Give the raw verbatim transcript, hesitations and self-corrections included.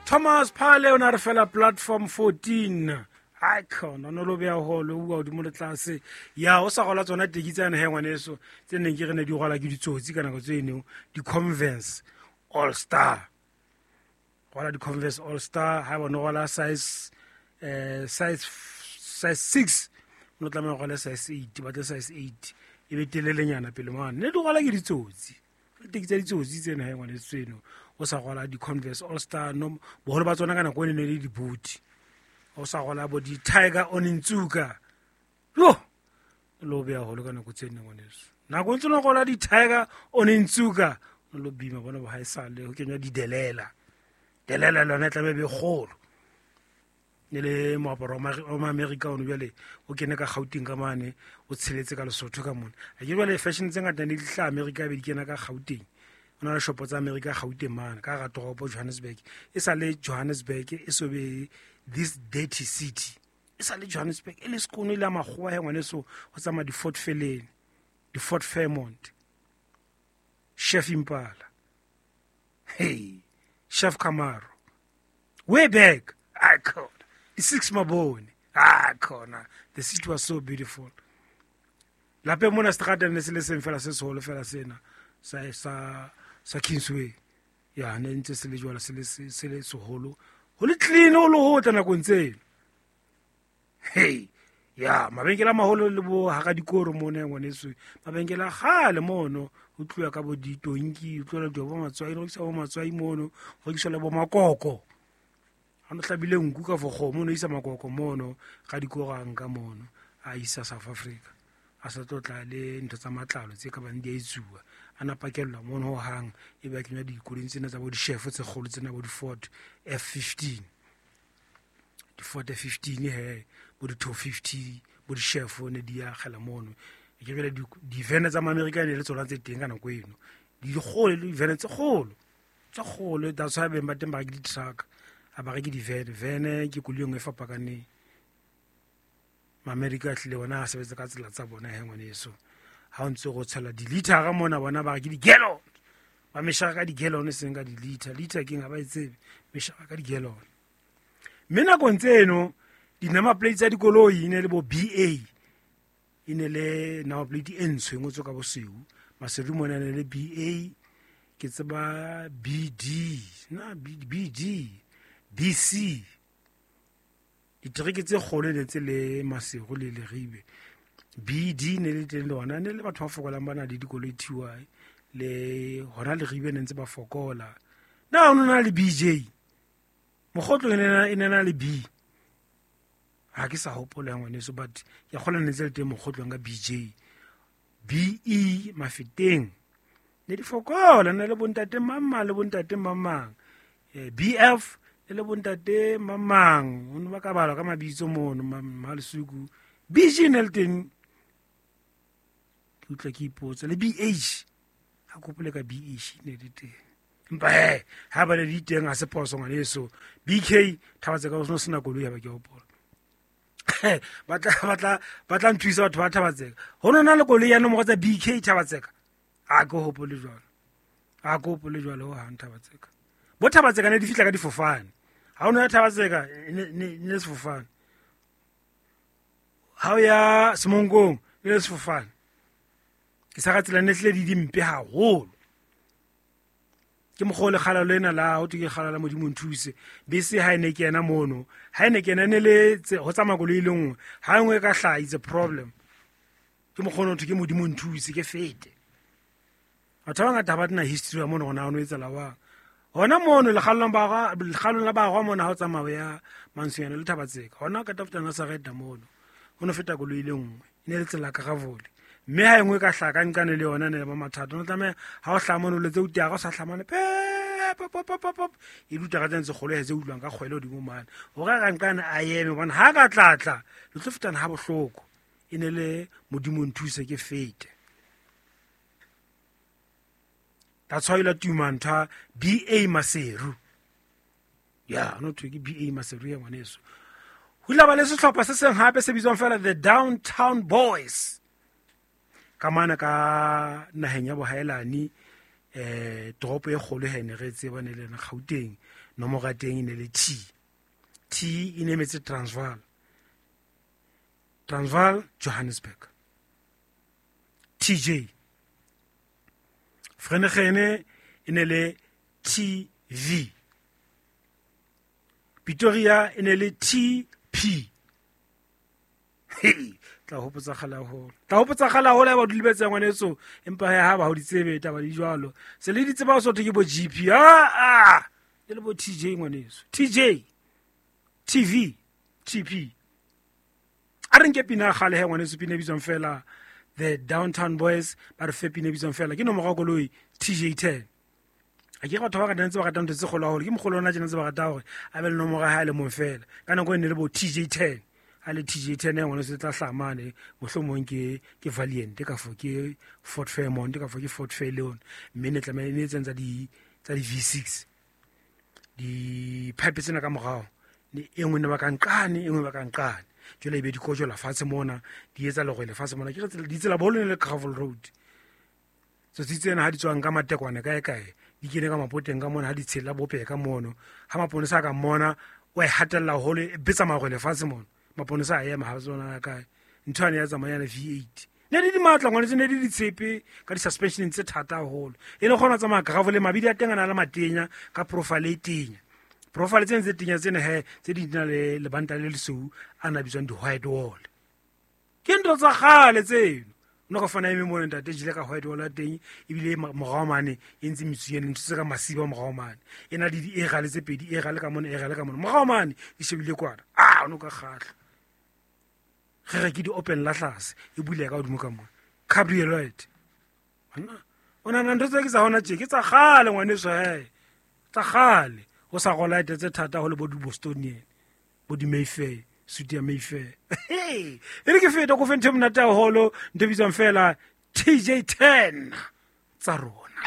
Thomas Phale o na re fela platform fourteen. Icon o no lo beya holo o bua hodimo le tlase. Ya o sa gola tsona teki tsane he ngwaneso tse neng ke re ne di gola ke ditsotsi ka nako tse eno, di-Converse All Star. Gola di-Converse All Star ha bona gola size eh size size six, o tlameha go gola size eight, ba tle size eight e be telelenyana pele mane. Ne di gola ke ditsotsi. Teki tsa ditsotsi tsena he ngwaneso tseno. O sa gola di-Converse All Star no boholo ba tsona ka nako e ne le di-boot. O sa gola bo di-Tiger Onitsuka. Yo! Lo beya holo ka nako tse nne ngwaneso. Nako ntse no gola di-Tiger Onitsuka, o lo bima bona bo haesale ho kenywa di-delela. Delela lona e tlameha e be kgolo. Ne le moaparo wa ma America ono jwale o kene ka Gauteng ka mane, o tsheletse ka Lesotho ka mona. A ke jwale fashion tse ngata ne di hlaha America be di kena ka Gauteng. O na le shopo tsa America Gauteng mane ka hara toropo Johannesburg. E sa le Johannesburg e so be this dirty city. E sa le Johannesburg e le sekolo e le ya makgowa he ngwaneso, ho tsamaya di-Fort Felene, di-Fort Fairmont, Chef Impala, hey, Chef Camaro, way back, I called the Six Mabone, I called. The city was so beautiful. Lapeng mona seterata ne se le seng fela se seholo fela sena sa sa sa Kingsway. Ya ne ntse se le jwalo, se le se le seholo, ho le clean ho le hotle nakong tseno. Hey, ya mabenkele a maholo le bo hara dikoro mona ngwaneso, mabenkele a kgale mono ho tluwa ka bo ditonki, ho tluwa le bo matswai, ho rekiswa bo matswai mono, ho rekiswa le bo makoko. Ha no hlabile nku ka for kgomo, no isa makoko mono ga dikoro a nka mono a isa South Africa. A sa tlo tla le ntho tsa matlalo tse ka bang di a etsuwa, a na pakellwa mono ho hang, e be a kenywa dikoloing tsena tsa bo di-chef tse kgolo tsena bo di-Ford F fifteen. Di-Ford F fifteen he, bo di-two fifty, bo di-chef ne di akgela mono. E ke jwale di-van tsa ma-Amerika ne le tsona tse teng ka nako eno. Di kgolo, di-van tse kgolo, tse kgolo, that's why beng ba teng ba reke di-truck, ha ba reke di-van. Van ke koloi e nngwe e fapakaneng. Ma-Amerika a tlile bona a sebetsa ka tsela tsa bona he ngwaneso. Ha o ntse go tshela di-liter mona bona ba re ke di-gallon. Ba meshaka ka di-gallon e seng ka di-liter. Liter ke eng ha ba e tsebe, meshaka ka di-gallon. Mme nakong tseno di-number plate tsa dikoloi e ne le bo B A, e ne le number plate e ntsho e ngotswe ka bosweu. Maseru mona ne le B A, ke tseba B D, na B, B D, B C. Ditereke tse kgolo ne tse le Maseru le Leribe. B D ne le teng le hona, ne le batho ba fokolang ba na le dikoloi T Y, le hona Leribe ne ntse ba fokola. Na ho na le B J? Mokgotlo e ne na, e ne na le B. Ha ke sa hopola ya ngwaneso, but ke kgolwa ne ntse le teng mokgotlong ka B J. B E Mafeteng. Ne di fokola, ne le bontate mamang le bontate mamang. Eh, B F ne le bontate mamang. Ho ne ba ka balwa ka mabitso mono, ma-, Malesuku. B G ne le teng. Ke utlwa ke ipotsa. Le B H. Ha ke hopole ka B H ne le teng. Empa he, ha ba le di teng ha se phoso ngwaneso. B K, Thabatseka o no sena koloi ha ba ke hopola. Ba tla, ba tla, ba tla nthusa batho ba Thabatseka. Ho no na le koloi ya nomoro tsa B K Thabatseka. A ke hopole jwalo. A ke hopole jwalo ho hang Thabatseka. Bo Thabatseka ne di fihla ka difofane. Ha o no ya Thabatseka, ne, ne, ne le sefofane. Ha o ya Semonkong, ne le sefofane. Ke sa ka tsela ne hlile di dimpe haholo. Ke mokgwa o lekgala lena la ho thwe ke lekgala la Modimo nthuse. Bese ha e ne kena mono, ha e ne kena ne le tse, ho tsamaya koloi e le nngwe, ha e nngwe e ka hlaha, it's a problem. Ke mokgwa ono ho thwe ke Modimo nthuse, ke fete. Batho ba bangata ha ba tena history ya mono hore na ho no etsahala jwang. Hona mono lekgalong ba gwa, lekgalong la ba gwa mona ha o tsamaya ya Mantsonyane le Thabatseka. Hona ka tafuta Nazareth mono. Ho no feta koloi e le nngwe, e ne le tsela Karavole. Mme ha e nngwe ka hlaha ka nqane le yona ne le ba mathata. O tlameha ha o hlaha mono o letse o tia, ha o sa hlaha mane, pep, pop, pop, pop, pop. E dutla ka tsena tse kgolo he tse utlwang ka kgwele hodimo mane. Hore a ka nqane a eme hobane ha ka tla tla, le tlo fetana ha bohloko. E ne le Modimo nthuse ke fete. That's why la tuma ntho B A Maseru. Ya, no thwe ke B A Maseru ya ngwaneso. Ho ile ba le sehlopha se seng hape se bitswang fela the Downtown Boys. Ka mana ka naheng ya bohaelani, eh toropo e kgolo he ne re tseba ne le Gauteng nomoro ya teng e ne le T. T e ne emetse Transvaal. Transvaal Johannesburg. T J. Vereeniging e ne le T V. Pretoria e ne le T P. Hey, tla hopotsa kgale haholo. Tla hopotsa kgale haholo ha ba dulebetse ngwaneso, empa ha ba ho di tsebe taba di jwalo. Se le di tseba so ke bo G P. Ah ah. Le le bo T J ngwaneso. T J. T V. T P. A re nke pina kgale he ngwaneso, pina e bitswang fela The Downtown Boys, ba re fe pina e bitswang fela ke nomoro ya koloi T J ten. A ke batho ba ratang tse ba ratang ntho tse kgolo haholo, ke mokgolo ona tjena tse ba rata hore a be le nomoro ya hae le mong fela. Ka nako e ne le bo T J ten. A le T J ten ngwana se tla hlamane mohlomong ke ke Valiant ka fo ke Ford Fairmont ka fo ke Ford Fairlane, mme ne tlameha ne tsentsa di tsa di V six di pipe tsena ka morao ne e nngwe ne ba ka nqane e nngwe ba ka nqane jwale e be di kojola fatshe mona di etsa lerwele fatshe mona ke re di tsela boholo ne le gravel road. Tsotsi tsena ha di tswang ka matekwane kae kae di kene ka mapoteng ka mona ha di tshela bope ka mono ha maponesa ka mona o e hatella haholo e betsa marwele fatshe mona maponesa a ema ha tsona kae ntho ane ya tsamaya le V eight ne di di matla ngwane ne di di tshepe ka di suspension tse thata haholo e le kgona tsamaya gravel le mabidi a teng a na le matenya ka profile e tenya profile tsena tse tenya tsena he tse di na le lebanta le lesweu a na bitswang di white wall ke ntho tsa kgale tseno no ka fana eme mona ntate jile ka white wall a teng ebile morao mane e ntse metsu ene ntho tse ka masiba morao mane e na le di erale tse pedi erale ka mona erale ka mona morao mane di shebile kwana ah no ka kgahla re re ke di open la tlase e bule ka hodimo ka mona cabriolet ana ona na ntho tse ke tsa hona tje ke tsa kgale ngwaneso he tsa kgale ho sa rola tse thata ho le bo di Bostonian bo di Mayfair suit ya Mayfair e re ke feta go fenthe monate haholo ntho bitswang fela T J ten tsa rona.